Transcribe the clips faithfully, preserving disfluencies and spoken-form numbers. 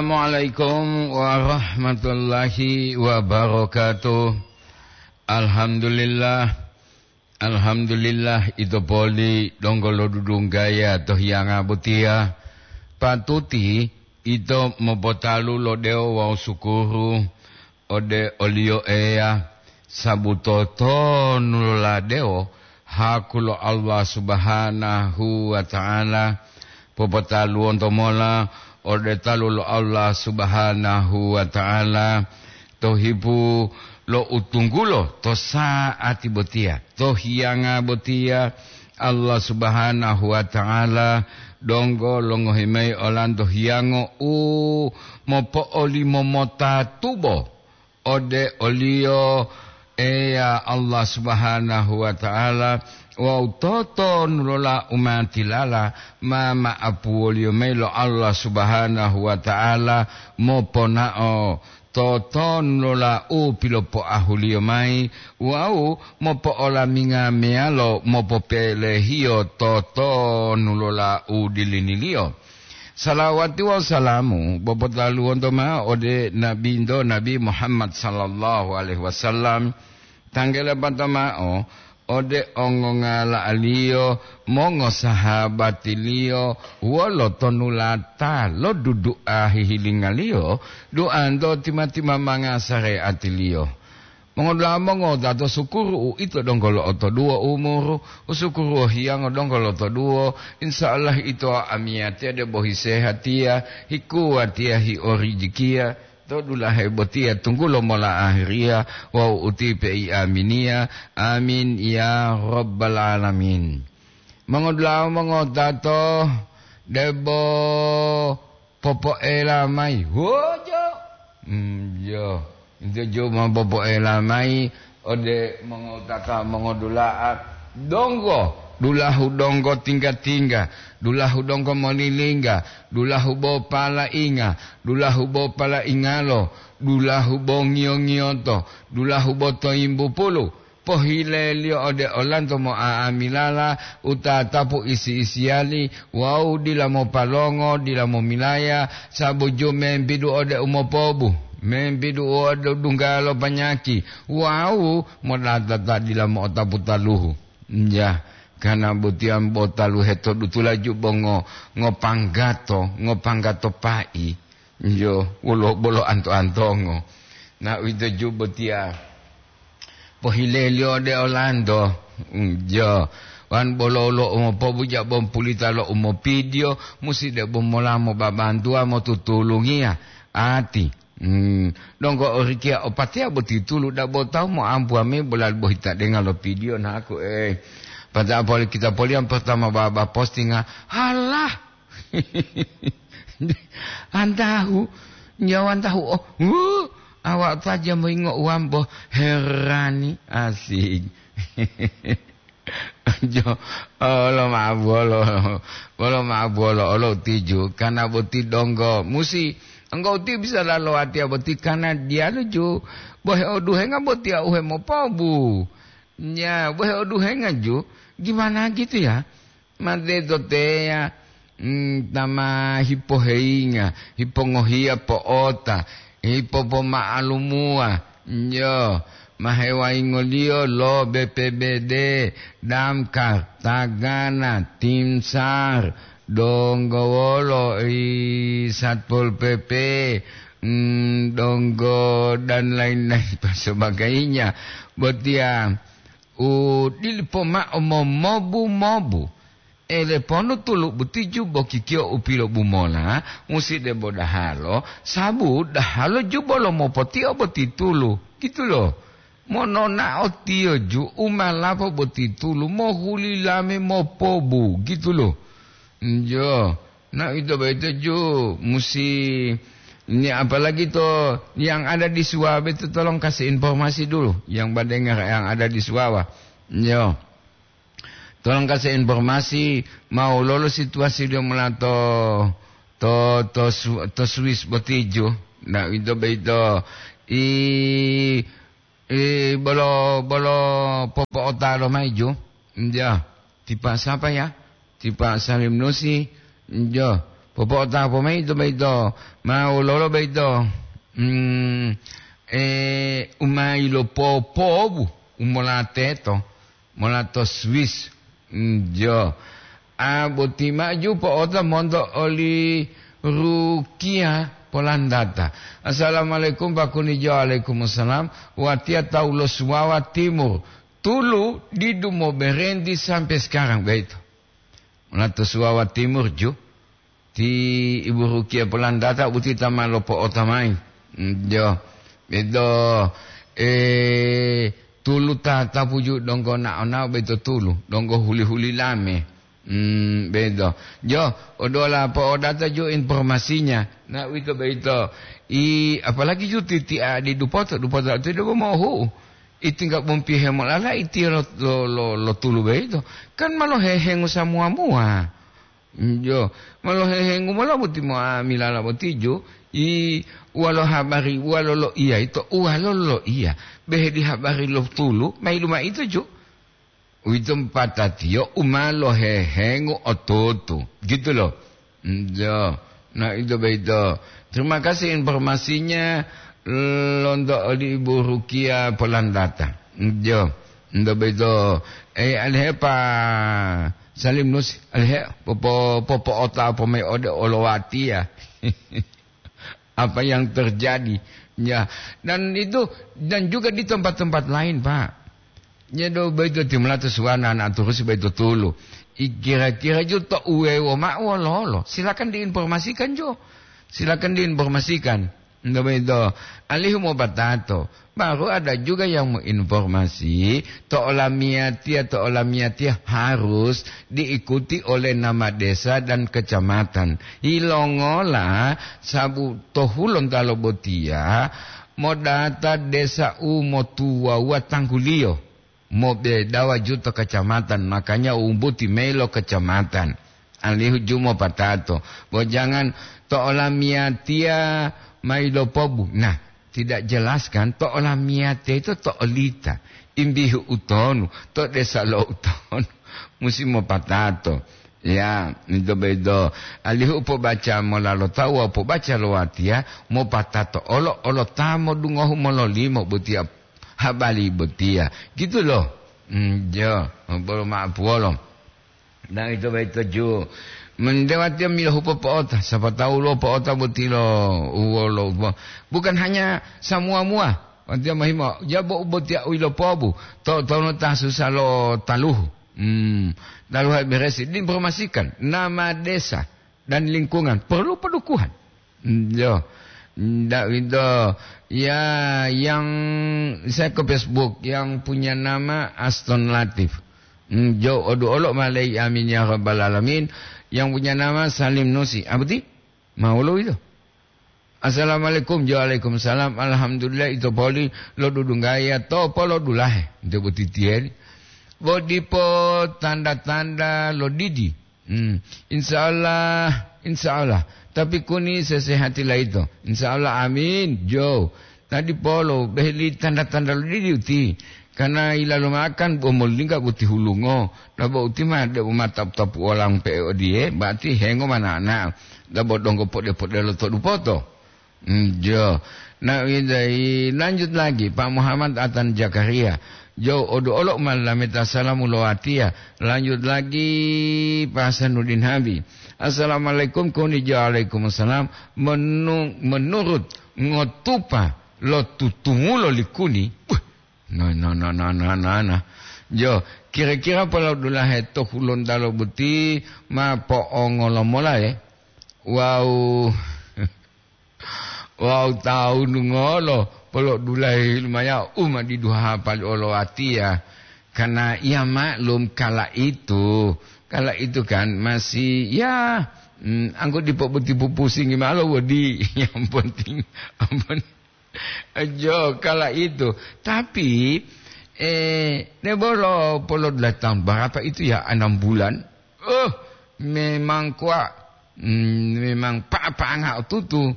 Assalamualaikum warahmatullahi wabarakatuh. Alhamdulillah. Alhamdulillah, ito poli donggo lodudunggaya to hiyanga botiya. Patuti ito mopotalu lo dewo wawu sukuru ode oliyo Eya, sabu totonu loladewo haku lo Allah Subhanahu wa Ta'ala. Popotaluwonto mola ode talu lo Allah Subhanahu wa Ta'ala to hipu lo utunggulo to sa'ati botiya, to hiyanga botiya. Allah Subhanahu wa Ta'ala donggo longohi mayi olanto hiyango u mopo'olimo mota tubo ode oliyo Eya Allah Subhanahu wa Ta'ala, wawu totonu lola umatilala ma ma'apuwoliyo mayi lo Allah Subhanahu wa Ta'ala moponao totonu lola u pilopoahuliyo mayi wawu mopo'olaminga meyalo mopopelehiyo totonu lola u diliniliyo. Salawati wawu salamu bopotaluwonto mao ode Nabinto Nabi Muhammad sallallahu alaihi wasallam, tanggele pato mao ode ongongala'aliyo, mongosahabatiliyo, wolo tonulata lo dudu'a hihilingaliyo, duanto tima-timamanga sareatiliyo. Mongodula'a mongowutato, sukuru uito donggo lo'otoduwo umuru, usukuru hiyango donggo lo'otoduwo, insya Allah ito amiyatiya debo hisehatiya, hikuwatiya, hiorijikiya, to dulahe botiya tunggulo mola ahiriya wawu utipe i aminiya. Amin ya rabbal alamin. Mongodula'a mongowutato, debo popoela mayi. Wojo. Mm, yo. Ito ju ma popoela mayi ode mongowutata mongodula'a donggo, dulahu donggo tingga-tingga, dulahu donggo molilingga, dulahu bo palainga, dulahu bo palaingalo, dulahu bo ngiyo-ngiyoto, dulahu bo toyimbupulu, pohileliyo ode olanto mo'a'amilala u tatapu isi-isiyali wawu dila mopalongo, dila momilaya, sabu ju membidu ode umopobu, membidu ode dunggalo panyaki wawu modata ta dila mo'otapu taluhu. Nja, kana botiyan bo taluhe to dutula ju bo ngo-, ngopanggato, ngopanggato pai. Njo, wolo bolo anto-antongo. Na uwito ju botiya. Pohileliyo ode olanto. Njo, wan bolo lo umopobuja bompulita lo umopidiyo, musi de bomola mobabantuwa motutulungiya. Ati. Hmm, donggo orikiya opatiya boti tulu dabo tawu moambuwa mayi bolali bohita denga lo pidiyo naku, eh. Pata poli kita poliyan pertama baba postinga, halah. Antahu, nyawa antahu, oh, wuh, awak saja moyingo uwambo herani, asik. Jo, olo ma'o buwolo, olo ma'o buwolo, olo tiju, kana boti donggo. Musi, engkau ti bisa lalo watiya boti kana diyalu ju, bohe oduhenga botiya uhe mopobu. Nya, bohe oduhenga ju, gimana gitu ya? Mate to teya, mm, ta ma hipoheyinga, hipongohiya po'ota, hipopoma'alumuwa, njo, ma hewayingoliyo lo B P B D, Damkar, Tagana, Timsar, donggo wolo i Satpol P P, mm, donggo dan lain-lain pasebagainya. Botiya u dilipo ma'o momobu-mobu. Ele ponu tulu butiju bokikiyo u pilobumola, musi debo dahalo, sabu dahalo ju bolo mopotio boti tulu, gitu lo. Mononao tiyo ju umalapo boti tulu, mohuli lame mopobu, gitu lo. Njo, na ito boyito ju musi, ni apalagi to yang ada di Suwa boyito tolong kasih informasi dulu, yang badengar yang ada di Suwa. Njo. Tolong kasih informasi, mau lolo situasi dia mula to, to, to, Su-, to Swiss botiju. Nah, itu beito. I, i, bolo, bolo popo otalo maiju. Ya, tipa siapa ya? Tipa Salim Nusi. Ya. Popo'otapo mayi to boyito, ma wololo boyito, mm, e, u ma yilopopobu, u mola teto, mola to Swiss. Mm, jo. A, boti maju po'ota monto oli Rukia Polandata. "Assalamualaikum, Pak Kunijo." "Waalaikumsalam." "Watiya tawu lo Suwawa Timur. Tulu didu moberenti sampai sekarang," boyito. Mola to Suwawa Timur ju. Ti Ibu Rukia Polandata boti ta ma lopo'ota mayi. Mm, jo. Bedo, eh, tulu tatapu ju donggo nao-nao boyito tulu, donggo huli-huli lame. Mm, bedo. Jo, odola po'odata ju informasinya. Nah, uwito boyito. I, apalagi ju titi'a di dupoto, dupoto itu debo mohu. Iti nggak bumpi hemolala iti lo, lo, lo, lo tulu boyito. Kan ma lohehengu samuwa-muwa. Jo, ma lohehengu mola boti mo'amilala boti ju, i walo habari, walo loiya ito, walo loiya. Behe di habari lo tulu, ma yilu mao ito ju. Uwito patatiyo u ma lohehengu otutu. Gitu loh. Jo, nah ito boyito. Terima kasih informasinya lonto oli Ibu Rukia Polandata. Jo, ito boyito. Eh, alihe Pak Salim Nus, alihe popo-, popo'ota pomai ode olowatiya. Apa yang terjadi? Ya, dan itu, dan juga di tempat-tempat lain, Pak. Ya, do, boyito timulato suwana anak turusi boyito tulu. I kira-kira ju to uwewo ma'o wololo? Silakan diinformasikan jo. Silakan diinformasikan. Nto boyito, alihu mopatato. Baru ada juga yang menginformasi, to olamiyatiya, to olamiyatiya harus diikuti oleh nama desa dan kecamatan. Yilongola, sabu to hulontalo botiya, modata desa u motuwawuwa tangguliyo, mobedawa juto kecamatan, makanya umbuti mayi lo kecamatan. Alihu ju mopatato. Bo jangan to olamiyatiya mayi lopobu. Nah, tidak jelas kan, to olamiyatiya itu to olita. Imbihu utonu, to desa lo utonu. Musi mopatato. Ya, ito boyito. Alihu pobaca mola lo tawu wawu pobaca lo watiya, mopatato olo, olo ta modungohu mololimo botiya habari botiya. Gitu loh. Mm, jo, bolo ma'apuwolo. Nah, ito boyito ju. Mendewatiya milohu popo'ota, sapa tawu lo po'ota boti lo uwolo. Bukan hanya samuwa-muwa. Watiya mohimo, jabo u botiya u yilopobu. To, tono ta susa lo taluhu. Hmm, taluhu beresi. Diinformasikan nama desa dan lingkungan. Perlu pendukungan. Hmm, yo. Ndak itu. Ya, yang saya ke Facebook, yang punya nama Aston Latif. Hmm, jo, odu olo malai, amin ya rabbal alamin. Yang punya nama Salim Nusi. Apa ti? Mau lo itu? Assalamualaikum. Waalaikumsalam. Alhamdulillah, ito poli lo dudunggaya to polo dulahe. Ito botitieri. Bo dipo tanda-tanda lo didi. Hmm. Insya Allah, insya Allah. Tapi kuni sesehati laito. Insya Allah, amin. Jo. Tadi polo, beheli tanda-tanda lo didi uti. Karena ilalo makan, bo molingga boti hulungo. Dabo uti ma, debo ma tapu-tapu olang pe odiye, berarti hengo mana-mana. Dabo donggo pode-pode lo to dupoto. Hmm, jo. Nah, idai, lanjut lagi, Pak Muhammad Atan Jakaria. Jo, odo olo malameta salamu lo watiya. Lanjut lagi, Pak Hasanuddin Habi. Assalamualaikum, kuni jo alaikumsalam. Menu-, menurut ngotupa lo tutungulo likuni. Wah, no, no, no, no, no, no, no. Jo, kira-kira polo dulahe to hulontalo boti ma po'ongolo mola, eh? Wow. Wawu tawunu ngolo polo dulahe lumaya u ma didu hapali olowatiya. Karena ya maklum kala itu, kala itu kan masih ya, mm, anggo dipo boti pupusingi malo wodi. Yang penting aman. Jo, kala itu. Tapi, eh, ne bolo polo dulahe tahun berapa itu ya, enam bulan? Oh, memang kuwa, mm, memang pa-, panga tutu.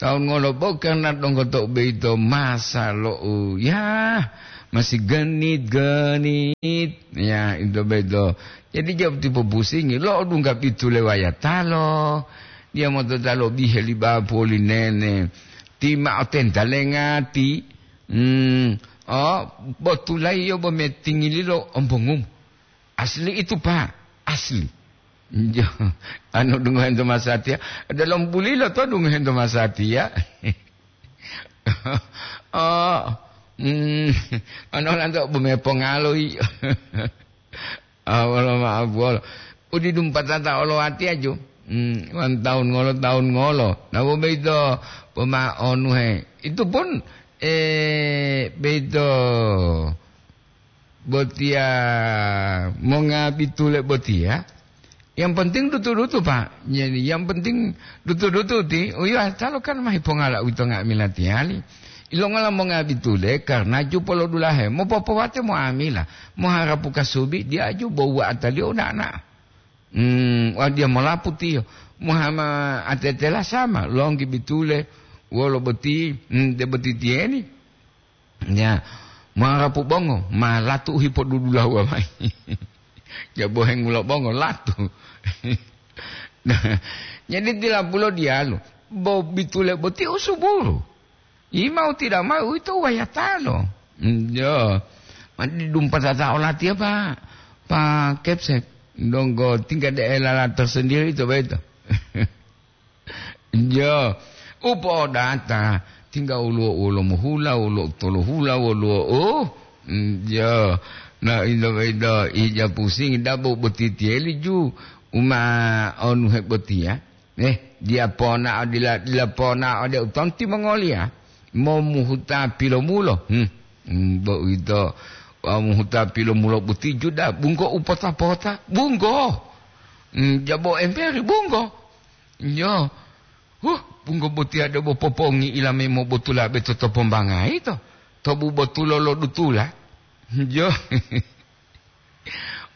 Taun ngolo bo karena donggo to beito masa lo u, ya, masih genit-genit. Ya, itu beito. Jadi jawab tipu pusingi, lo dungga pitu lewayatalo. Dia motota lobihe li bapu oli nene. Ti ma'o tentalenga ti. Hmm. Oh, botulai yo bo metingililo ombongumu. Asli itu, Pak. Asli. Jo, anu dungohento masatiya. Dalam bulilo to dungohento masatiya. Oh, hmm. Ano lanto bo mepongalo iyo. Ah, wolo ma'apu wolo. Udidumpatata olo watiya ju. Hmm, wan taun ngolo, taun ngolo. Nah, bo beito, pema'onuhe. Itu pun, eh, beito botiya monga bitule botiya. Yang penting dutu-dutu, Pak. Jadi, yang penting dutu-dutu ti, uyo asalo kan mahi pongala uwito nga'amila tiyali. Ilongola monga bitule, karena ju polodulahe, mopopowate mo'amila, moharapu kasubi, diya ju bo wa'ataliyo uda'a na'a. Hmm, wah, dia molapu tiyo. Muhama atetela sama, longgi bitule, wolo boti, hmm, de boti tiyeni. Ya, marapu bongo, ma latu u hipodudulahuwa mayi. Ya, bohengulo bongo, latu. Nah, jadi tilapulo diyalu, bo bitule boti usuburu. Imau tidak mau itu wayatalo. Hmm, ya. Ma didumpatata olatiya, Pak. Pak Kepsek. Donggo tingkat daerah tersendiri itu beto. Jo, upo'odata, tingga woluwo wolo mohula, wolo tolo hula, woluwo, oh, mm, jo. Na, indo-indo ija pusingi dabo boti tiyeli ju, uma onu hebotiya. Eh, dia ponao dila, dila ponao de utonti mongoliya. Momuhuta pilomulo. Hmm, mm, bo uwito, wa muhuta pilomulo boti ju da bunggo upota-pota. Bunggo. Mm, jabo emberi bunggo. Nyo. Huh, bunggo botiya debo popongi ilame mobotula beto to pombangai to. To bubotulo lo dutula. Nyo.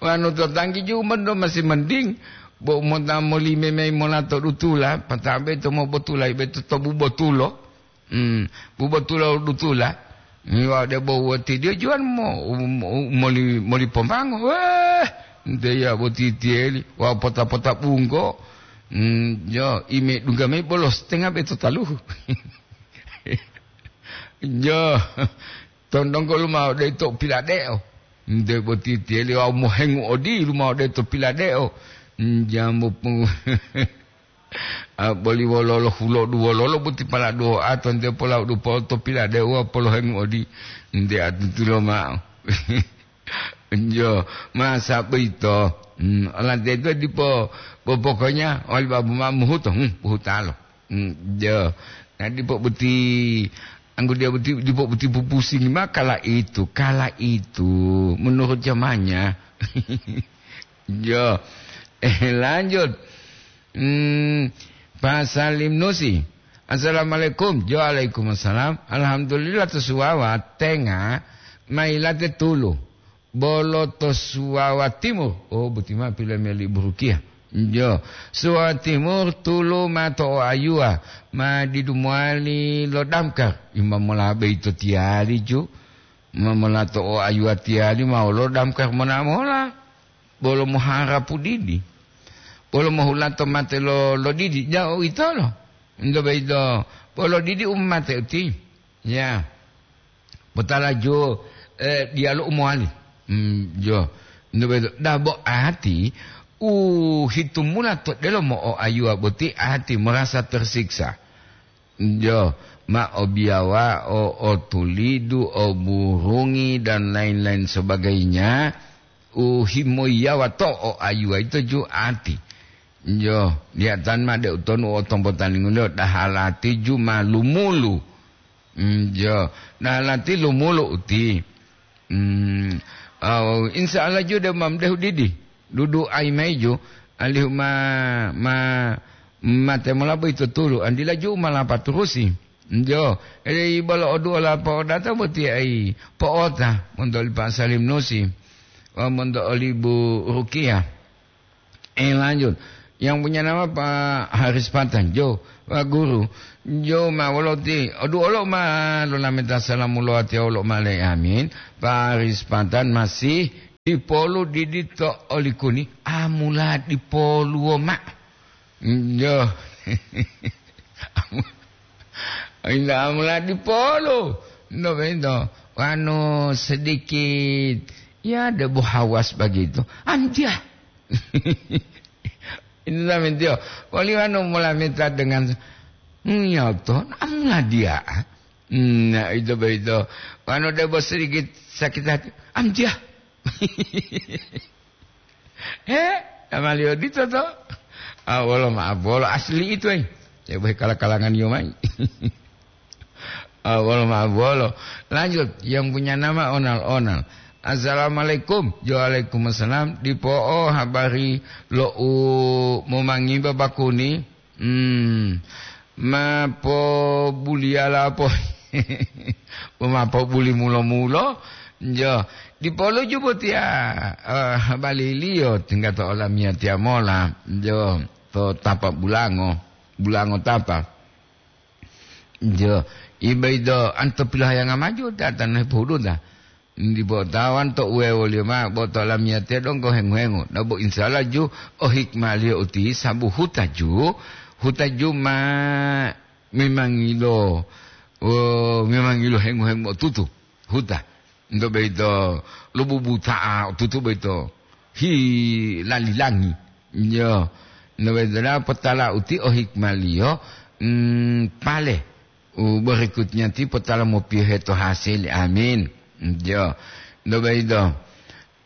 Wanu to tanggi ju mendo masih mending. Bo mota molime mei mola to dutula, pata beto mobotula beto to bubotulo. Hmm, bubotulo dutula. Ni wa debo woti dia juan mo, mo, moli, moli pombango. Weh, nte ya boti tieli. Wa pota-pota bunggo. Hmm, jo, ime dungga mei bolo setengah beto taluhu. Jo, tondonggo lumao de to piladeo. Nte boti tieli wa mohengu odi lumao de to piladeo. Hmm, jambu pu-, Ah, boli wololo hulodu wololo boti pala duo ato nte pola dupo to piladeo polohengu odi. Nte atutulo ma'o. Jo, masa boyito. Hmm, olanteto dipo, bo pokoknya oli babu ma muhuto, hmm, buhutalo. Hmm, jo. Nah, dipo boti, anggo dia boti, dipo boti pupusingi ma kala itu, kala itu, menurut zamannya. Jo. Eh, lanjut. Hmm, Pak Salim Nusi. Assalamualaikum. Jo, waalaikumsalam. Alhamdulillah to Suwawa tenga mailate tulu. Bolo to Suwawa Timur. Oh, boti ma pila meli burukiya. Jo. Suwawa Timur tulu ma to o ayuwa. Ma didu mowali lo damkar. Imam mola beito tiyali ju. Ma mola to o ayuwa tiyali ma wolo damkar mona mola. Bolo moharapu didi. Bolo mohulato mate lo, lo didi. Ja, uwitolo. Ento boyito, bolo didi u mate uti. Ya. Potala jo, eh, diyalu u mowali. Hmm, jo. Ento boyito, dabo ati, u hitumula to delomo o ayuwa boti ati merasa tersiksa. Jo, ma o biyawa, o, o tulidu, o burungi, dan lain-lain sebagainya, u himoyiyawa to o ayuwa ito ju ati. Jo, liyatan ma de utonu o tombotalinguliyo dahalati ju ma lumulu. Mm, jo, dahalati lumulu uti. Hmm, aw, insya Allah ju de ma mdehu didi. Dudu ai maiju, alihu ma, ma, mate mola boyito tulu, andila ju ma lapaturusi. Jo, ede ibolo oduola po'odata boti ai po'ota monto oli Pak Salim Nusi, wa monto oli Bu Rukiah. Eh, lanjut. Yang punya nama Pak Haris Patan. Jo, Pak Guru. Jo, ma woloti. Odu olo ma lolameta salamu lo ati olo ma le amin. Pak Haris Patan masih dipolu didi to olikuni. Amula dipoluwo ma. Jo. Inda amula dipolo. Ndo bento. Wanu sedikit, ya, debo hawas begitu. Antia. Itu sampai dia. Wali wanu mula minta dengan, hmm, ya, to, amula dia. Hmm, nah, itu begitu. Wanu debo sedikit sakit hati. Antia. He, amaliyo dito to. Ah, wolo maaf, wolo asli itu, eh. Ya, boh kala-kalangan yo mai. Ah, wolo maaf, wolo. Lanjut, yang punya nama Onal-Onal. Assalamualaikum. Waalaikumsalam. Dipo'o habari lo u momangimba bakuni. Hmm. Ma po buliyala po. Ma po buli mulo-mulo. Jo. Dipolo ju botiya, eh, baliliyo tingga to olamiyatiya mola. Jo. To tapa bulango. Bulango tapa. Jo. Ibe ido anto pilohayanga maju datan hepohuduta. Dipo tawan to uwewoliyo mao, bo to lamiyatiya donggo hengu-hengu. Dabo insala ju o hikmaliyo uti sabu huta ju, huta ju ma memangilo, o, memangilo hengu-hengu otutu, huta. Nto boyito lobubuta'a otutu boyito hi lalilangi. Yo, nto boyito da'a potala uti o hikmaliyo, mm, pale. U berikutnya ti potala mopiyohe to hasil. Amin. Jo. Nto boyito.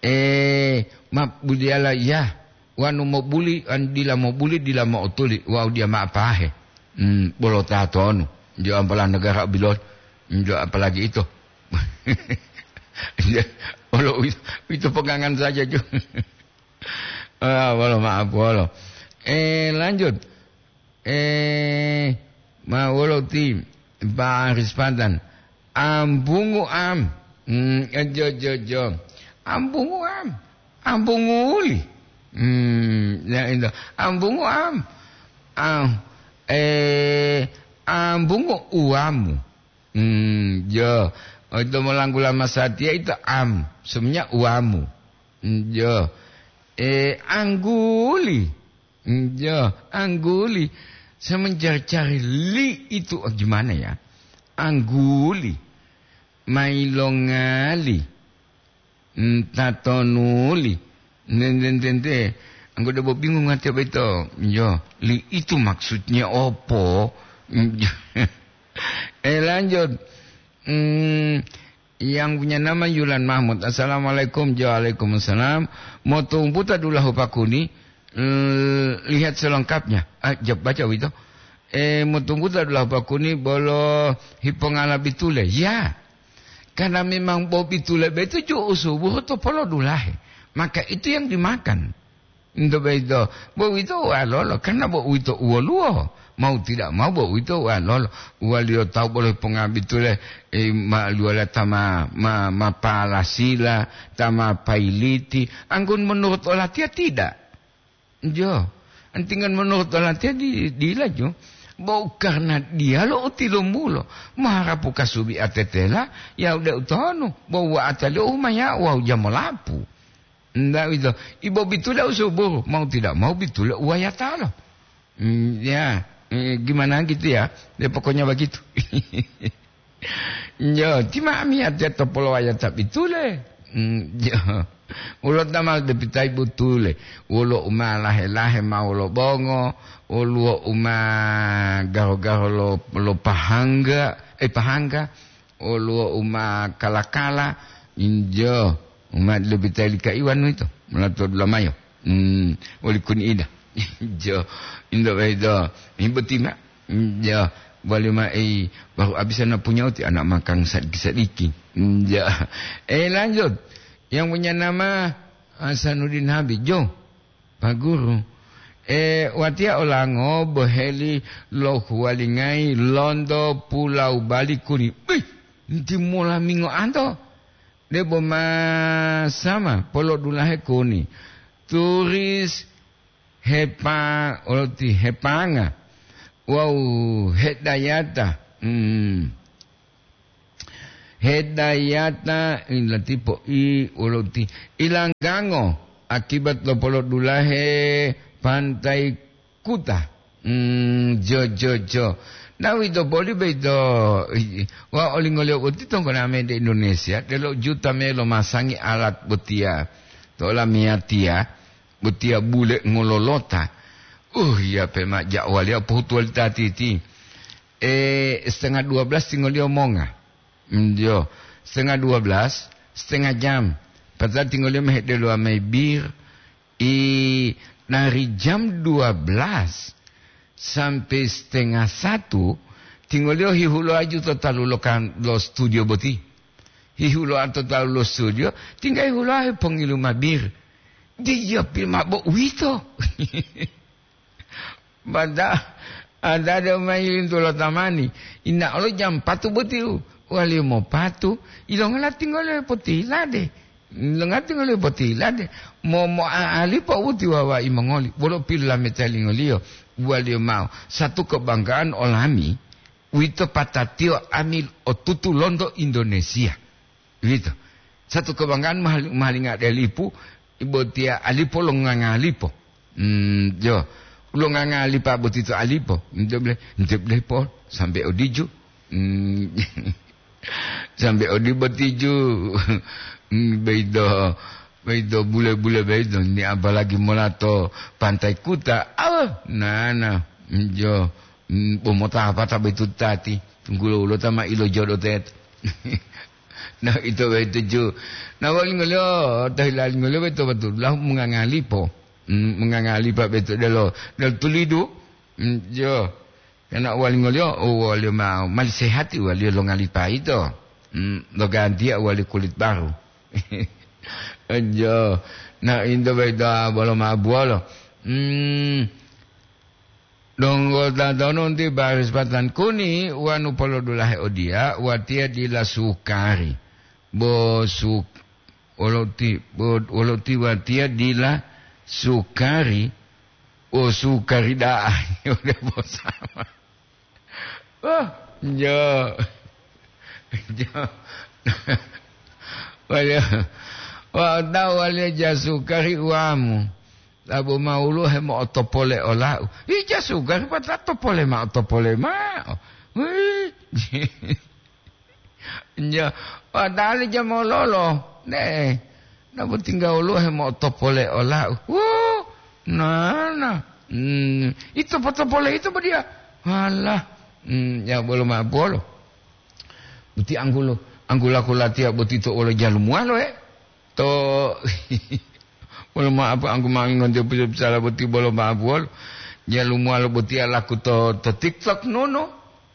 Eh, ma budiyala iya, wanu mobuli, an dila mobuli, dila mo'otuli, wawu diya ma'apahe. Hmm, bolo tatonu. Jo ampala negara bilon. Jo apalagi ito. Jo, olo uwito, uwito pegangan saja, jo. Ah, wolo maaf, wolo. Eh, lanjut. Eh, ma wolo ti Pak Aris Pantan. Ambungu am. Hmm, eh, jo, jo, jo. Ambungu am. Ambungu uli. Hmm, ya, itu. Ambungu am. Am, eh, ambungu uamu. Hmm, jo. Oh, itu molanggula masatiya itu am. Semuanya uamu. Hmm, jo. Eh, angguli. Hmm, jo, angguli. Saya mencari-cari li itu, oh, gimana ya? Angguli. Mailongali. Hmm, tatonuli. Nententente. Anggo debo bingung hati apa itu? Jo, li itu maksudnya opo? Hmm, jo. Eh, lanjut. Hmm, yang punya nama Yulan Mahmud. Assalamualaikum. Waalaikumsalam. Motumputa dulahu pakuni. L-, lihat selengkapnya. Ah, jawab baca itu. Eh, motumputa dulahu pakuni bolo hipongala bitule. Ya. Karena memang bo bitule betu ju usubuh to polo dulahe. Maka itu yang dimakan. Nto boyito, bo uwito uwalolo, karena bo uwito uwoluwo. Mau tidak mau, bo uwito uwalolo. Uwaliyo tawu bolo ponga bitule, eh, ma luwala ta ma, ma, ma palasila, ta ma pailiti. Anggun menurut olatiya tidak. Jo. Antingan menurut olatiya di, dila jo. Bo karena diya lo utilumulo. Maharapu kasubi atetela, ya udah utonu. Bo wa ataliyo umaya, wa ujamolapu. Ndak itu. Ibo bitule usuburu, mau tidak mau bitule uwayatalo. Hmm, ya, eh, gimana gitu ya? Ya, pokoknya begitu. Yo, ti ma'amiyatiya to polowayata bitule. Hmm, yo. Ulo tamal depitai butule. Wolo uma lahe-lahe ma wolo bongo, woluwo uma garo-garo lo, lo pahangga, eh, pahangga. Woluwo uma kala-kala, injo, uma lobita lika iwanu ito, molato dulamayo. Hmm, woli kuni ida. Injo, indo bedo, ibuti ma. Injo, bali ma ei, baru abisa na punya uti anak makang sadiki-sadiki. Injo. Eh, lanjut. Yang punya nama Hasanuddin Habib, Jo. Pak Guru, eh, watiya olango boheli lo huwalingayi lonto Pulau Bali kuni. Bih, nti mola mingo anto. Debo ma sama polodulahe kuni. Turis hepa-, oloti hepanga. Wawu hedayata. Hmm. Hedayata ilatipo i wolo ti ilanggango akibat lo polodulahe Pantai Kuta. Hmm, jo, jo, jo. Na uwito boli boyito, wa olingoliyo boti tonggoname de Indonesia, delo juta me lomasangi alat botiya to olamiyatiya, botiya bule ngololota. Uh, ya pe ma ja'waliya pohutuwali tatiti. Eh, setengah dua belas tingoliyo monga. Hmm, jo, setengah dua belas, setengah jam. Padahal tingoliyo mehedelo amai bir, I, dari jam dua belas sampai setengah satu, tingoliyo hihuloa ju to talu lo kan-, lo studio boti. Hihuloa to talu lo studio, tingga hihuloa hepongilu mabir. Diya pil mabo uwito. Mada, ada de mayi lintu lo tamani. Ina olo jam patu boti u. Waliyo mopatu, ilongola tingoliyo potihilade. Ilongola tingoliyo potihilade. Mo, moa'alipo uti wawa'i mongoli. Wolo pilolameta lingoliyo. Waliyo mao. Satu kebanggaan olami, uwito patatiyo ami otutu lonto Indonesia. Uwito. Satu kebanggaan mahal-, mahalinga de lipu, ibotiya alipo lo ngangalipo. Hmm, jo. Lo ngangalipa boti to alipo. Nte ble, nte ble po, sampai odiju. Hmm, sampai odi botiju. Hmm, beido, beido bule-bule beido. Ni apalagi mola to Pantai Kuta. Ah, nana. Hmm, jo. Hmm, bo mota apa ta betu tati? Tunggulo ulo ta ma ilo jodo teto. Na ito betu ju. Na walingoliyo, tahilalingoliyo betu betu. Lah mengangalipo. Hmm, mengangalipa betu delo, delo tulidu. Hmm, jo. Kana walingoliyo, oh, waliyo ma, mali sehati waliyo longalipa ito. Hmm, logantiya wali kulit baru. Jo. Na into betu bolo ma buolo. Hmm. Donggo tatonu ti baris patan kuni wanu polodulahe odiya, watiya dila sukari. Bo su-, wolo ti, bo, wolo ti watiya dila sukari, bo sukari da'a. Ode bosama. Oh, jo. Jo. Waliya, wa tahu waliya ja sukari uwamu. Labo ma woluwo hemo'otopole olau. Ija sugari pata topole mao, topole mao. Wih. Nja, padahal ija mololo. Ne. Labo tingga woluwo hemo'otopole olau. Wuh, nana. Hmm, ito potopole ito bodiya. Alah. Hmm, ya bolo ma bolo. Boti anggulo, anggulaku latiya boti to wolo jalumuwalo, eh. To, wolo ma'apu anggu mangi ngonti pusa-pusala boti bolo ma'apu wolo. Jalumuwalo boti alaku to, to TikTok nono.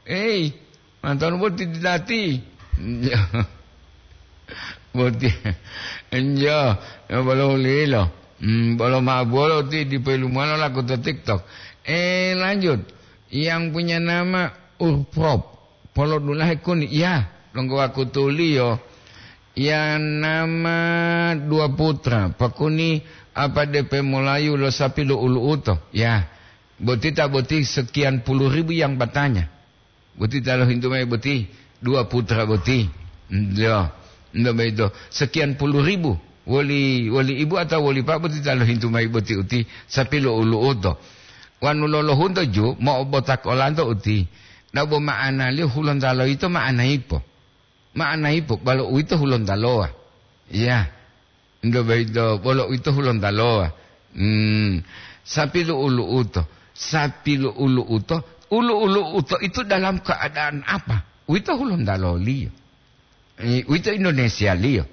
Ei, mantonu boti ditati. Boti, enjo, ya bolo hulilo. Hmm, bolo ma'apu wolo ti dipo ilumuwalo laku to TikTok. Eh, lanjut. Yang punya nama Urprop. Polo dulahe kuni, ya, longgo wakutuliyo, ya nama dua putra, pakuni apa depe molayu lo sapi lo ulu'uto, ya, boti ta boti sekian puluh ribu yang bertanya. Boti ta lohintu mayi boti, dua putra boti. Ndo, ndo mayi do, sekian puluh ribu. Woli, woli ibu atau woli pa boti ta lohintu mayi boti uti, sapi lo ulu'uto. Wanu lolohunto ju, mo'obotak olanto uti. Dabo ma'analiyo hulontalo yito ma'ana ipo? Ma'ana ipo, balo uwito hulontalowa. Iya. Ndo boyito, bolo uwito hulontalowa. Hmm. Sapi lo ulu'uto. Sapi lo ulu'uto. Ulu-ulu'uto itu dalam keadaan apa? Uwito hulontaloliyo. Eh, uwito Indonesialiyo.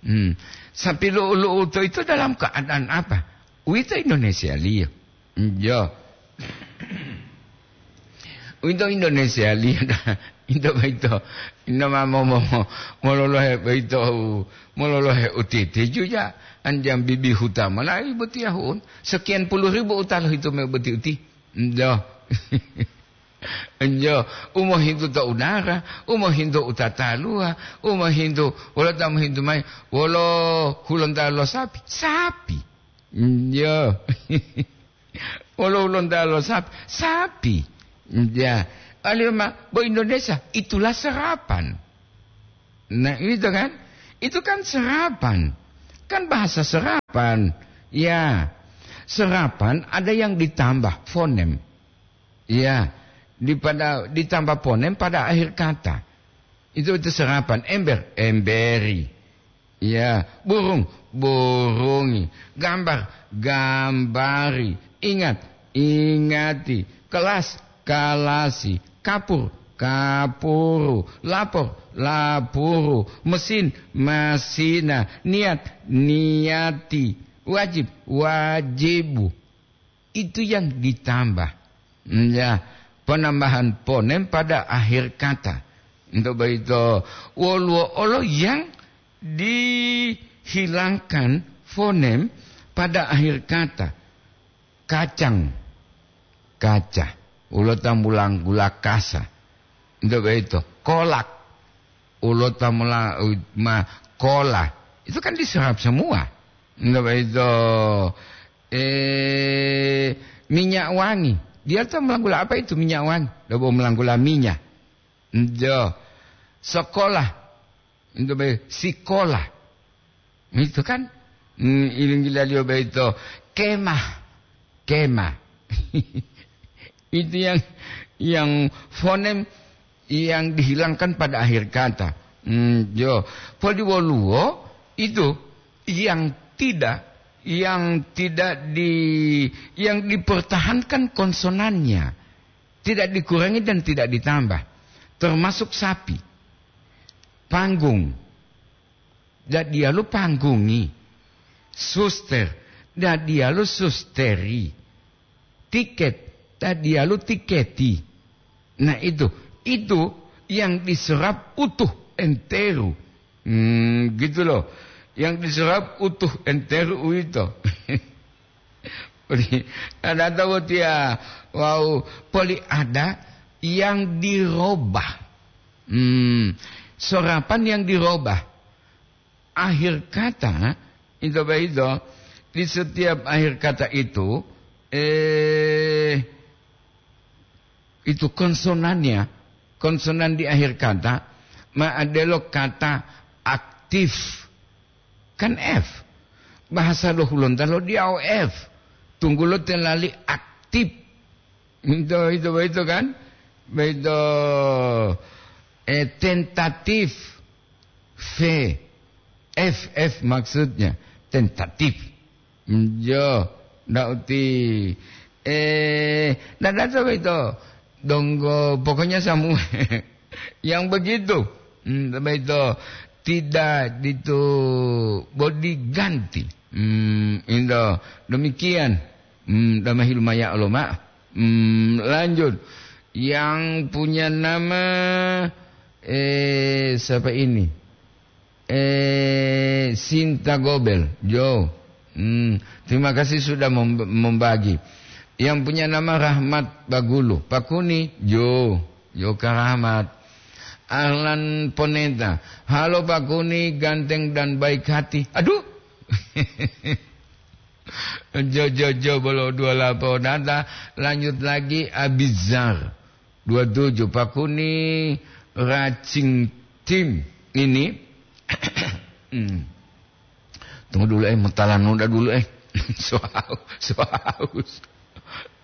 Hmm. Sapi lo ulu'uto itu dalam keadaan apa? Uwito Indonesialiyo. Njo. Uwito Indonesialiyo da. Ito boyito. Ino ma mo, mo, mo, mololohe boyito, mololohe utiti juja. Anjang bibi huta malayi botiya hu'un. Sekian puluh ribu utalo hito me boti uti. Njo. Njo. Umohintu to udara, umohintu utataluwa, umohintu, wolo ta mohintu mayi, wolo hulontalo lo sapi? Sapi. Njo. Wolo hulontalo lo sapi? Sapi. Ya. Aliyo ma, bo Indonesia, itulah serapan. Nah, itu kan? Itu kan serapan. Kan bahasa serapan. Ya. Serapan ada yang ditambah fonem. Iya, dipada, ditambah ponem pada akhir kata. Itu, itu serapan. Ember, emberi. Iya, burung, burungi. Gambar, gambari. Ingat, ingati. Kelas, kalasi. Kapur, kapuru. Lapor, lapuru. Mesin, masina. Niat, niati. Wajib, wajibu. Itu yang ditambah. Hmm, ya, penambahan ponem pada akhir kata. Untuk begitu, woluwo olo yang dihilangkan fonem pada akhir kata. Kacang, kaca. Ulo tambulang gula kasa. Untuk begitu, kolak. Ulo tamula, ma, kola. Itu kan diserap semua. Untuk begitu, eh, minyak wangi. Dia tahu melanggula apa itu minyak wangi? Dia mau melanggula minyak. Njo. Sekolah. Untuk be-, sikola. Itu kan. Hmm, ilinggilaliyo beito. Kemah. Kemah. Itu yang, yang fonem yang dihilangkan pada akhir kata. Hmm, jo. Poli woluwo itu yang tidak, yang tidak di, yang dipertahankan konsonannya, tidak dikurangi dan tidak ditambah. Termasuk sapi. Panggung. Dadiyalu panggungi. Suster. Dadiyalu susteri. Tiket. Dadiyalu tiketi. Nah, itu, itu yang diserap utuh enteru. Hmm, gitu loh. Yang diserap utuh enteru uwito. Poli, ada tahu dia, wow, poli ada yang dirobah. Hmm, serapan yang dirobah. Akhir kata, itu begitu, di setiap akhir kata itu, eh, itu konsonannya, konsonan di akhir kata, ma adelo kata aktif. Kan F. Bahasa lo Hulonta lo diao F. Tunggulo telali aktif. Itu, itu, itu kan? Itu, eh, tentatif. V. F, F maksudnya. Tentatif. Njo, ndak uti, eh, ndak, ndak sampai to. Donggo, pokoknya samu-, yang begitu. Hmm, sampai to. Tidak ditu, bodi ganti. Hmm, indo. Demikian. Hmm, damahi lumaya lo, Mak. Hmm, lanjut. Yang punya nama, eh, siapa ini? Eh, Sinta Gobel, Jo. Hmm, terima kasih sudah mem-, membagi. Yang punya nama Rahmat Bagulu, Pakuni, Jo. Jo Karamat. Ahlan Poneta, halo Pakuni, ganteng dan baik hati. Aduh. Jo, jo, jo, bolo dua lapo data. Lanjut lagi, Abizar. Dua tujuh, Pakuni, Racing Tim ini. Hmm. Tunggu dulu, eh, mau talan noda dulu, eh. So aus, so aus.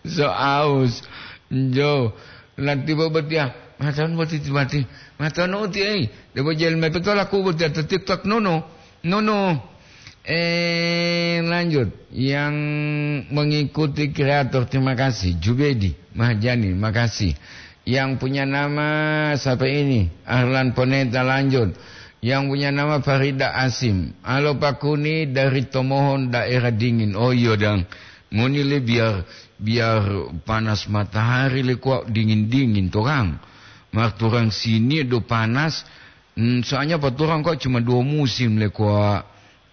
So aus. Jo, nanti bo botia. Matan boti timati. Matan uti, eh. Debo jel mepe tolaku botia to TikTok, nono. Nono. Eh, lanjut. Yang mengikuti kreator, terima kasih. Jubedi, Mahjani, makasih. Yang punya nama siapa ini? Ahlan Poneta, lanjut. Yang punya nama Farida Asim. Halo Pakuni dari Tomohon, daerah dingin. Oh iya, dang. Ngoni le biar, biar panas matahari le kok dingin-dingin to, Kang. Marturang sini do panas. Hmm, soalnya paturang kok cuma dua musim le kok.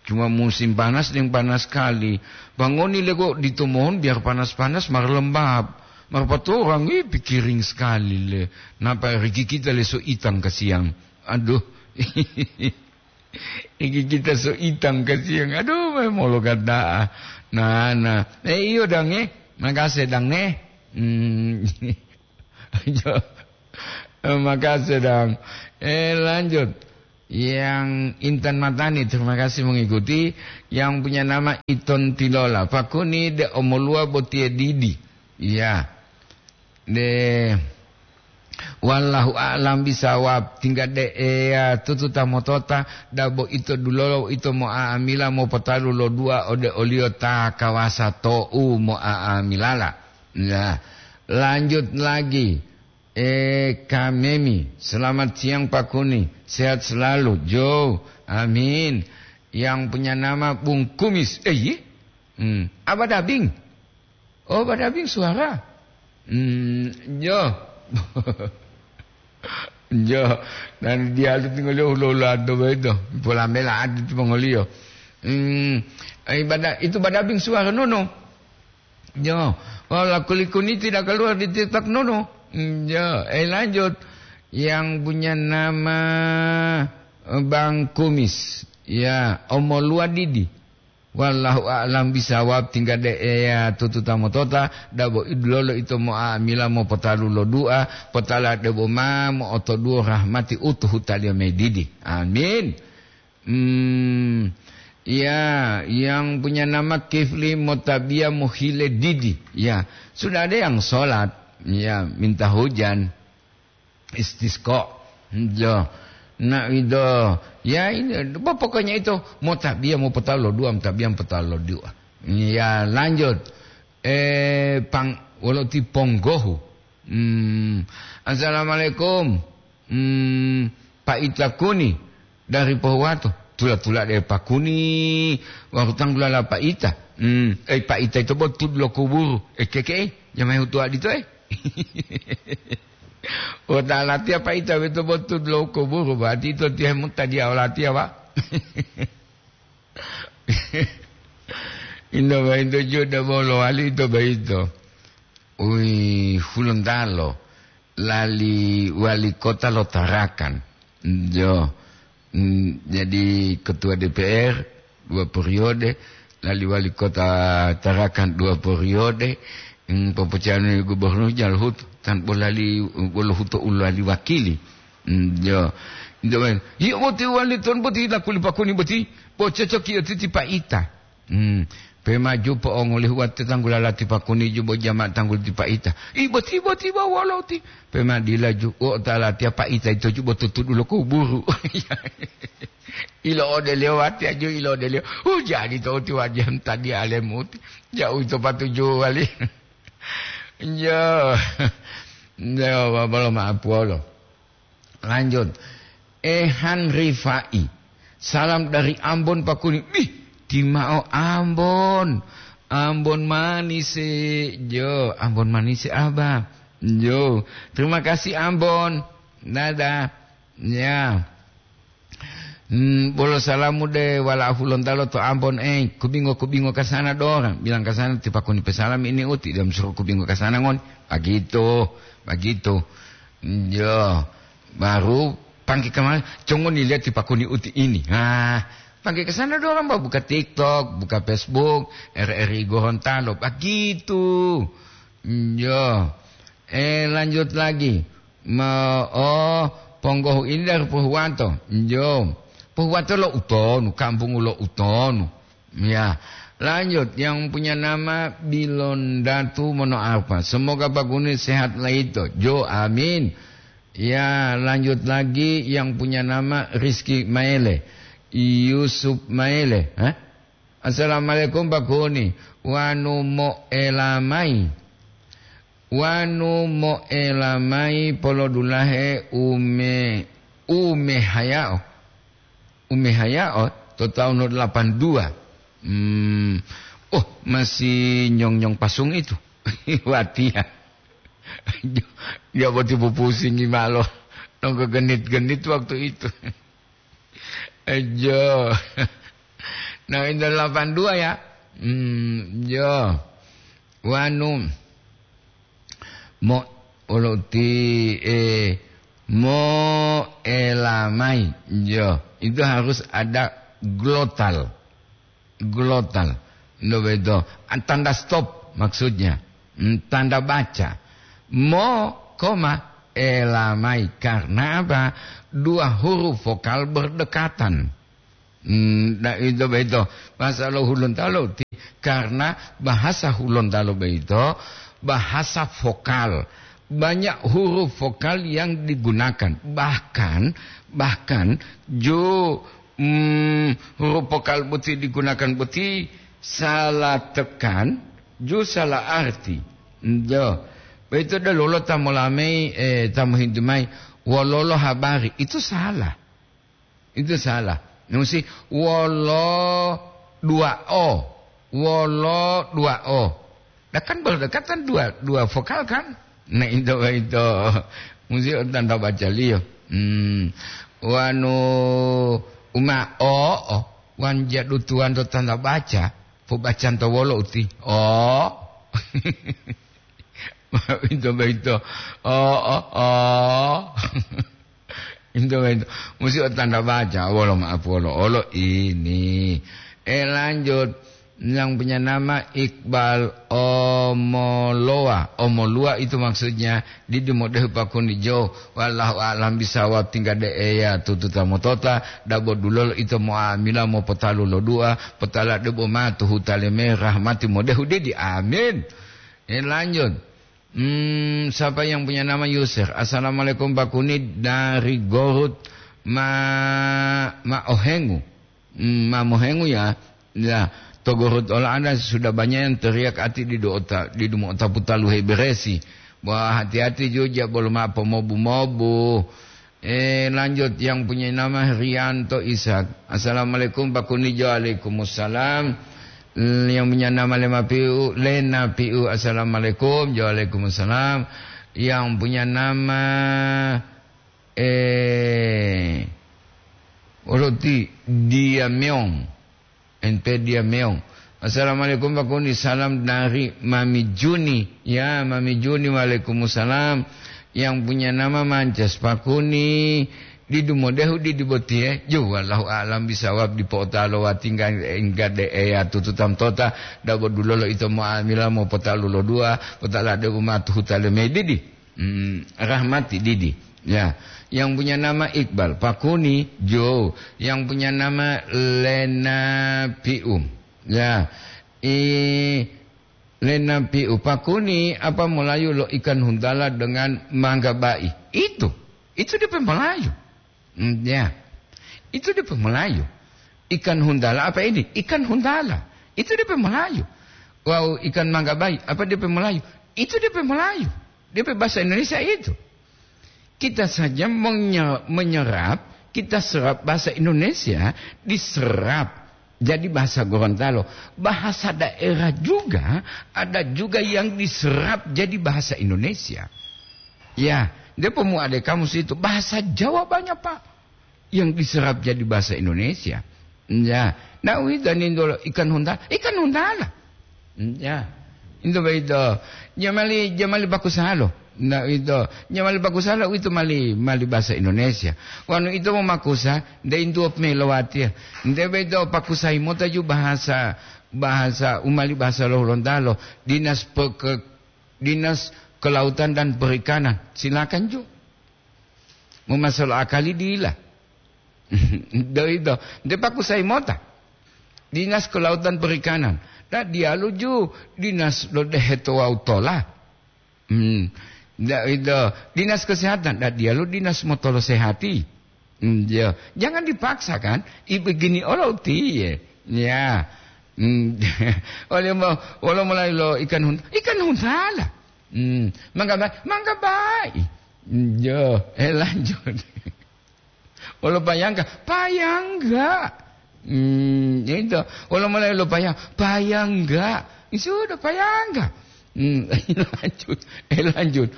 Cuma musim panas deng panas sekali. Bang ngoni le kok di Tomohon biar panas-panas mar lembab. Mar paturang, ih, pikiring sekali le. Napa riki kita le so itang kasiang. Aduh. Iki kita so itang kasiang. Aduh, memolo kata. Nah, nah. Eh, iyo, Dang, eh. Makasih, Dang, eh. Hmm. Iyo. Eh, makasih, Dang. Eh, lanjut. Yang Intan Matani, terima kasih mengikuti. Yang punya nama Iton Tilola. Pakuni de omolua botie didi. Iya. De, wallahu a'lam bisawab. Tingga de eya tututa motota, dabo ito dulolo ito mo'a'amila mopotalu lo dua ode oliyo ta kawasa to'u mo'a'amilala. Nah, lanjut lagi. Eh, Kamemi, selamat siang Pak Kuni. Sehat selalu. Jo, amin. Yang punya nama Bung Kumis. Eh, iya? Hmm. Apa Dabing? Oh, Pak Dabing suara. Hmm, jo. Jo. Dan dia itu tinggal dia ulo-ulo ado begitu. Pola mela adi itu mongoliyo. Hmm, ibadah itu Pak Dabing suara nono. Yo, wala kulikuni tidak keluar di TikTok nono. Hmm, yo, eh, lanjut. Yang punya nama, eh, Bang Kumis. Ya, omo lua didi. Wallahu a'lam bisawab, tingga de eya tututa motota, dabo idulolo ito mo'amila mopotalu lo dua, potala debo ma mo'otoduwo rahmati utuhu taliyo medidi. Amin. Hmm, ya, yang punya nama Kifli Motabia mohile didi. Ya, sudah ada yang sholat. Ya, minta hujan. Istisqa. Ya. Nah, itu. Ya, ini, pokoknya itu. Motabia mau petalo dua, motabia mau petalo dua. Ya, lanjut. Eh, pang, wolo ti ponggohu. Hmm. Assalamualaikum. Hmm, Pak Ita Kuni dari Pohuwato. Tula-tula de Pak Kuni, waru tanggulala Pak Ita. Hmm, eh, Pak Ita itu botud lo kuburu. Eh, keke, eh, jamai hutua dito, eh. Wota latiya Pak Ita beto botud lo kuburu, berarti itu tihe mutadiya olatiya, Pak. Indo baito juda bolo wali ito baito. Ui, Hulontalo, lali wali kota lo Tarakan. Jo, mm, jadi ketua D P R dua periode, lali wali kota Tarakan dua periode, mm, popocanu gubernur jalhut, tanpa lali, bolo huto ulali wakili. Mm, jo. Nto men, iyo boti wali ton boti lakuli Pak Kuni boti, bo cocok iyo titi Pak Ita. Hmm. Pe maju po'ongolihu wate tanggulala ti Pak Kuni ju bo jama tanggul ti Pak Ita. I boti, boti ba wolo ti. Pe ma dila ju, o ta latiya Pak Ita ito ju bo tutudu lo kuburu. Ilo odeliyo wate aju ilo odeliyo. Uh, jadi to ti wajihan tadi alemu ti. Jauh to patuju wali. Yo. Yo, babalo maaf wolo. Lanjut. Ehan Rifai. Salam dari Ambon, Pak Kuni. Bih, timao Ambon. Ambon manis, eh. Jo, Ambon manis, eh, Abah. Jo. Terima kasih, Ambon. Dadah. Ya. Hmm, bolo salamu de wala Hulontalo to Ambon, eh. Kubingo-kubingo kasana dorang. Bilang kasana ti Pak Kuni pesalam ini uti. Dia suruh kubingo kasana ngon. Begitu. Begitu. Yo, baru pangke kama-, congoni lihat ti Pak Kuni uti ini. Ah, pangke ke sana dorang, Pak, buka TikTok, buka Facebook, R R I Gorontalo, begitu. Yo. Eh, lanjut lagi. Ma-, oh, ponggohu ini dari Pohuwato. Yo. Pohuwato lo utonu, kampung lo utonu. Ya, lanjut yang punya nama Bilondatu Monoarfa. Semoga Pak Kuni sehat laito. Jo, amin. Ya, lanjut lagi yang punya nama Rizky Maele. Yusuf Maele. Hah? Assalamualaikum, Pak Kuni. Wanu moelamai. Wanu moelamai polodulahe ume-, umehayao. Umehayao to tahun delapan dua. Hmm. Oh, masih nyong-nyong pasung itu. Watiya. Dia boti pupusingi malo. Nongko genit-genit waktu itu. Ejo. Nah, itu delapan dua ya. Hmm, jo. Wanu. Mo, olo ti, eh, mo elamai. Yo, itu harus ada glotal. Glotal. Ndak begitu. Tanda stop maksudnya. Hmm, tanda baca. Mo, koma, elamai. Karena apa? Dua huruf vokal berdekatan. Hmm, nah, itu begitu. Bahasa lo Hulontalo ti-, karena bahasa Hulontalo begitu, bahasa vokal. Banyak huruf vokal yang digunakan. Bahkan, bahkan jo, mm, huruf vokal boti digunakan boti salah tekan, jo salah arti. Jo. Begitu ada lolo ta molamai, eh, ta mohintu mai, wololo habari. Itu salah. Itu salah. Musi wolo dua o. Wolo dua o. Dah kan berdekatan dua, dua vokal kan? Nah, itu, itu. Musi tanda baca liyo. Hmm. Wanu uma o, o. Wan jadu tuan to tanda baca. Pobacan to wolo uti. O. Itu, itu. O, o, o. Itu, itu. Musti o tanda baca, wolo maaf, wolo, olo ini. Eh, lanjut. Yang punya nama Iqbal Omoloa. Omolua itu maksudnya, didi modehu pakuni jo. Wallahu a'lam bisawab, tingga de eya tututa motota, dabo dulolo ito mo'amila mopotalu lo dua, potala debo ma tuhuta leme rahmati modehu didi. Amin. Eh, lanjut. Hmm, siapa yang punya nama Yusuf? Assalamualaikum, Pak Kuni, dari Gorut Ma-, Maohengu. Hmm, Mamohengu ya. Ya, to Gorut ola ada sudah banyak yang teriak ati di doota, di dumo otapu talu heberesi. Wah, hati-hati juga, belum apa mobu-mobu. Eh, lanjut, yang punya nama Rianto Ishak. Assalamualaikum, Pak Kuni. Waalaikumsalam. Yang punya nama Lema Piu, Lena Piu. Assalamualaikum. Waalaikumsalam. Yang punya nama, eh, Roti Diameong. N P Dia Meong. Assalamualaikum, Pak Kuni. Salam dari Mami Juni. Ya, Mami Juni, waalaikumsalam. Yang punya nama Mances, Pak Kuni. Didu modehu didi botiye. Ju, wallahu a'lam bisawab, dipo'otalo watingga engga de eya tututam tota. Dabo dulolo ito mo'amila mopotalu lo dua. Potala de umatu hutale medidi. Hmm, rahmati didi. Ya, yang punya nama Iqbal, Pakuni, Jo. Yang punya nama Lena Piu. Ya, i Lena Piu, Pakuni, apa molayu lo ikan huntala dengan mangga bai? Itu, itu depe Melayu. Hmm, ya. Itu depe Melayu. Ikan huntala apa ini? Ikan huntala. Itu depe Melayu. Wau ikan mangga bai, apa depe Melayu? Itu depe Melayu. Depe bahasa Indonesia itu. Kita saja menye-, menyerap, kita serap bahasa Indonesia, diserap jadi bahasa Gorontalo. Bahasa daerah juga, ada juga yang diserap jadi bahasa Indonesia. Ya, dia pemuda kamus itu, bahasa Jawa banyak, Pak, yang diserap jadi bahasa Indonesia. Ya, nah, uwito nindolo ikan huntala, ikan huntala. Ya, itu begitu. Jamali, jamali bakusalo. Nah, itu. Jamali bakusalo itu mali, mali bahasa Indonesia. Wanu itu memakusa, nde intuop melowati. Nde begitu pakusai mota ju bahasa, bahasa umali bahasa lo Hulontalo. Dinas peke-, Dinas Kelautan dan Perikanan. Silakan ju. Momasalo akali dila. Doido. Nde pakusai mota. Dinas Kelautan Perikanan. Da dialu ju dinas lo deheto wau tola. Hmm. Doido. Dinas Kesehatan. Da dialu dinas motolo sehati. Hmm, ya. Jangan dipaksa kan. I begini olo utiye. Ya. Hmm. Oleh mo, wolo mulai lo ikan hun-, ikan huntala. Hmm. Mangga ba-, mangga bai. Hmm, ya. Eh, lanjut. Wolo payangga, payangga. Hmm, itu. Wolo mulai lo payang, payangga. Sudah payangga. Hmm, lanjut. Eh, lanjut.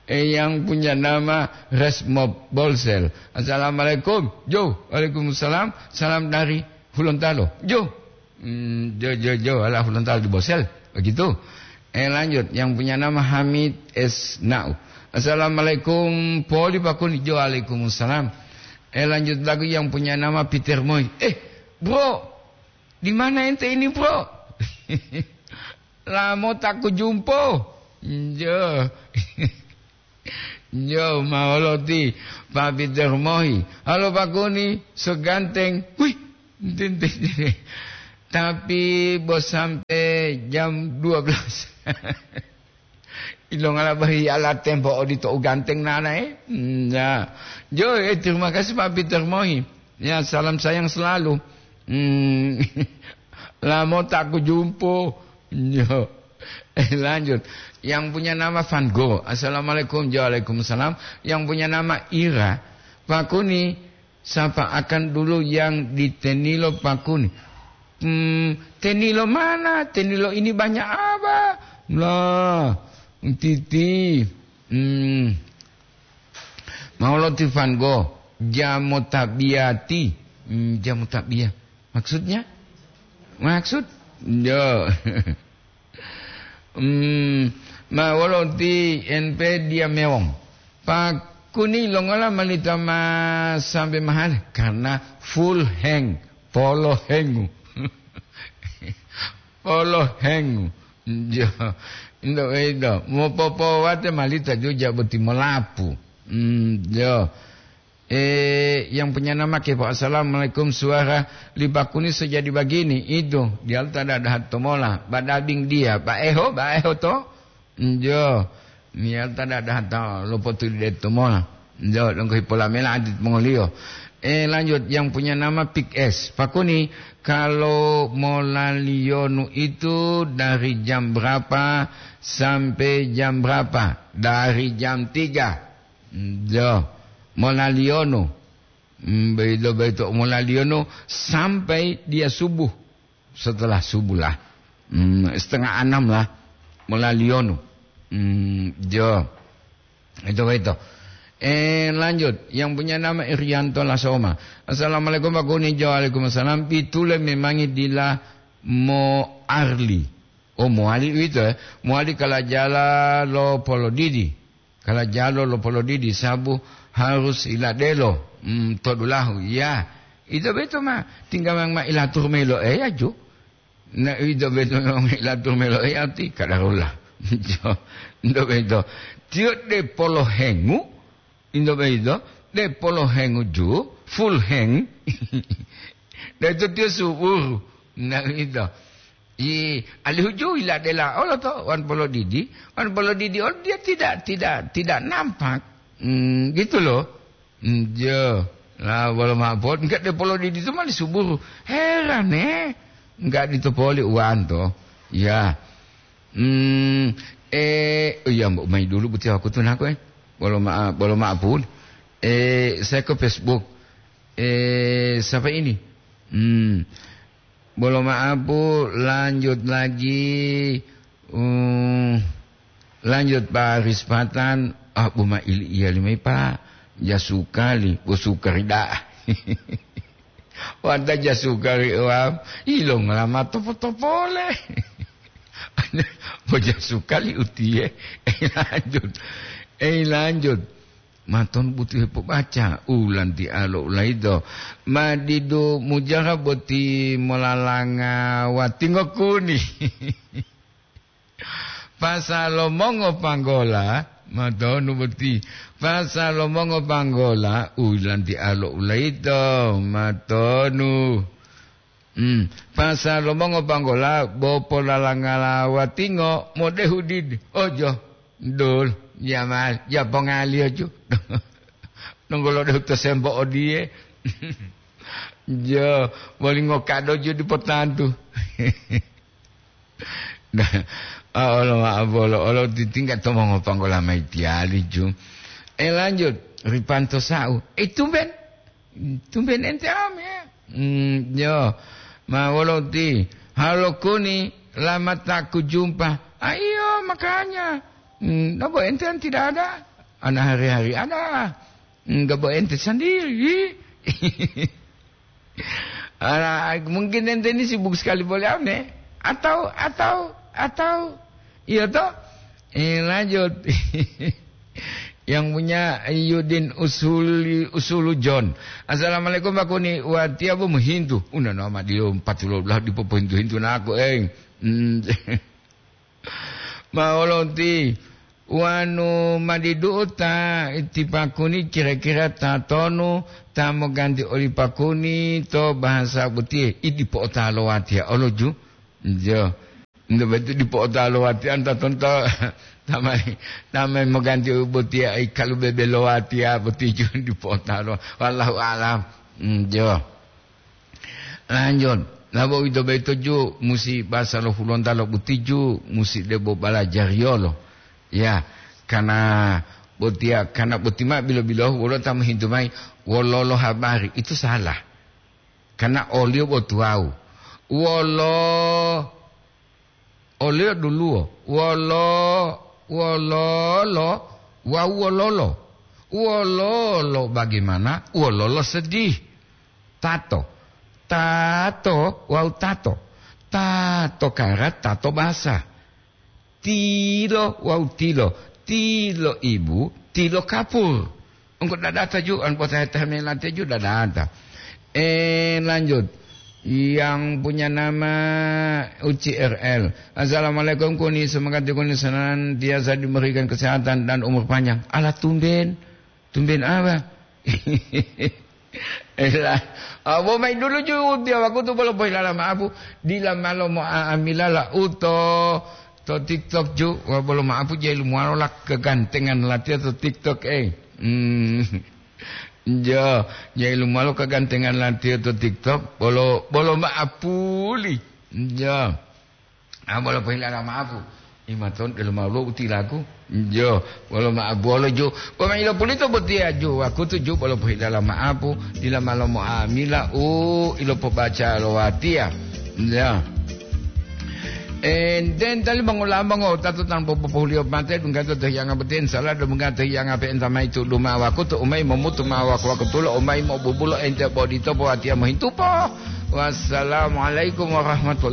Eh, yang punya nama Resmo Bolsel. Assalamualaikum. Jo, waalaikumsalam. Salam dari Hulontalo. Jo. Hmm, jo, jo, jo, ala Hulontalo di Bolsel. Begitu. Eh, lanjut. Yang punya nama Hamid S Nau. Assalamualaikum, Poli Pakuni. Jo, waalaikumsalam. Eh, lanjut lagi yang punya nama Peter Moy. Eh, bro, di mana ente ini, bro? Lamo tak kujumpo. Jo. Jo, maoloti, Pak Peter Moy. Halo, Pakuni, seganteng. Wih, tintin. Tapi bos sampai jam dua belas. Ilongala bahi ala tempo odito u ganteng nanae. Hmm, ya. Jo, eh, terima kasih Pak Peter Mohi. Ya, salam sayang selalu. Hmm. Lamo tak kujumpo. Yo. Eh, lanjut. Yang punya nama Van Gogh. Assalamualaikum. Waalaikumsalam. Yang punya nama Ira. Pak Kuni, sapa akan dulu yang di Tenilo Pak Kuni? Hmm, Tenilo mana? Tenilo ini banyak apa? Lah, titi. Hmm. Mauloti Van Gogh, Jamu Tabiati. Hmm, Jamu Tabiat. Maksudnya? Maksud? Yo. Hmm, ma wolo ti N P dia mewong. Pak Kuni longola malita ma sampai mahal karena full hang, polo hengu. Polo hengu. Jo, indo indo. Mo popo wate malita juja boti molapu. Hmm, jo. Eh, yang punya nama kepo. Assalamualaikum, suara li Pak Kuni sejadi begini. Itu, dia tak ada dahat tomola. Badabing dia. Baeho, baeho to? Njo. Niat ada dahat to lopotu de tomola. Njo, donggo hipola mela adit mongoliyo. Eh, lanjut, yang punya nama Pik S. Pak Kuni, kalau molaliyonu itu dari jam berapa sampai jam berapa? Dari jam tiga. Njo, molaliyonu. Mm, beito, beito, molaliyonu sampai dia subuh. Setelah subuh lah. Mm, setengah enam lah. Molaliyonu. Mm, jo. Itu, beito. Eh, lanjut. Yang punya nama Irianto Lasoma. Assalamualaikum, Pak Kuni. Jo, waalaikumsalam. Pitule memangi dila mo arli. Oh, mowali uwito, eh. Mowali kalajala lo polodidi. Kalajalo lo polodidi sabu harus iladelo, mm, to dulahu. Ya, ito beto ma tingga ma, ma ilatur melo eya ju. Na ito beto ma ilatur melo eya ti kadarullah. Jo, ito beto. Tiyo de polohengu, ito beto, de polohengu ju, full heng. Dan itu tiyo subur. Na ito. I, alihu ju iladela olo to, wan polodidi, wan polodidi olo dia tidak, tidak, tidak nampak. Hmm, gitu loh. Hmm, jo. Lah, bolo ma'apot, enggak de polodidi itu malah subur. Heran, eh. Enggak ditopoli uwan to. Ya. Hmm, eh, oh iya, Mbok, mai dulu buti aku tuh naku, eh. Bolo ma'a-, bolo ma'apun. Eh, saya ke Facebook. Eh, siapa ini? Hmm. Bolo ma'a, Bu, lanjut lagi, uh, lanjut Pak Rispatan. Ah, Bu, ma ili iya limai, Pak. Jasukali, Bu, sukari da'a. Wanta jasukali, wam. Ilo ngelama topo-topole. Bu, jasukali utiye. Eh, lanjut. Eh, lanjut. Maton butu hepobaca, ulanti alo ulaido. Ma didu mujara boti molalanga watingo kuni. Pasalo mongo panggola, matonu boti. Pasalo mongo panggola, ulanti alo ulaido, matonu. Hmm, pasalo mongo panggola, bo polalangala watingo, modehu didi. Ojo. Dul, jamal, japongaliyo ju. Nunggolo dehu to sembo odiye. Jo, boli ngokado ju dipotantu. Nah, ah, olo ma'o bolo, olo titingga to mongopanggola mai tiyali ju. Eh, lanjut, ripanto sa'u. Eh, tumben. Tumben ente ame. Hmm, yo. Ma wolo ti, halo kuni, lamata ku jumpa. Ah, iyo, makanya. Hmm, nobo ente kan tidak ada. Ana hari-hari ada. Hmm, gak bo ente sendiri. Ala, mungkin ente ini sibuk sekali boleh ame. Atau, atau, atau, iya toh? Eh, lanjut. Yang punya Yudin Usuli, Usulu John. Assalamualaikum, Pak Kuni. Watiya bu muhintu. Una nama dia empat puluh belas dipopohintu-hintu naku, eh. Hmm. Ma wolo ti wanu madidu'u ta ti Pak Kuni, kira-kira tatonu ta moganti oli Pak Kuni to bahasa botiye? Idi po'otalo watiya olo ju. Jo. Nto betu dipo'otalo watiya anta tonto. Tamai, tamai moganti botiya ai kalu bebe lo watiya botiju dipo'otalo. Wallahu a'lam. Hmm, jo. Lanjut. Labo uwito boyito ju musi basa lo Hulontalo botiju musi debo balajariyolo. Ya, karena botiya, karena boti ma bilo-bilohu wolo ta mohintu mayi wololo habari. Itu salah. Karena oliyo bo tuwawu. Wolo, oliyo duluwo. Wolo, wololo, wawu wololo. Wololo bagaimana? Wololo sedih. Tato. Tato wawu tato. Tato karat, tato basa. Tilo wawu tilo. Tilo ibu, tilo kapur. Engko dadata ju, an potahe-tahe melate ju dadata. Eh, lanjut. Yang punya nama Uci R L. Assalamualaikum, Kuni. Semoga Kuni senantiasa diberikan kesehatan dan umur panjang. Ala tumben. Tumben apa? Ela, abo mayi dulu ju, tiya wakutu bolo pohilala ma'apu, dila malo mo'a'amila la uto to TikTok ju, wa bolo ma'apu jailu muwalo la kegantengan latiya to TikTok, eh. Hmm. Jo, jailu muwalo kegantengan latiya to TikTok, bolo, bolo ma'apuli. Jo. Ah, bolo pohilala ma'apu. Imaton delo ma'apu lo utilaku. Jo, bolo ma'apu bolo ju. Poma ilo pulito botiya ju. Wakutu ju bolo pohilala ma'apu. Dila malo mo'amila u ilo pobaca lo watiya. Ya. Enten tali bangola bango tatu tanpa popohuliyo mate dunggato to hiyanga botiya, insya Allah dunggato hiyanga pe enta mayi tudu ma wakutu umai momutu ma waku-, wakutulo umai mobubulo ente bodito po watiya mohintupo. Wassalamualaikum warahmatullahi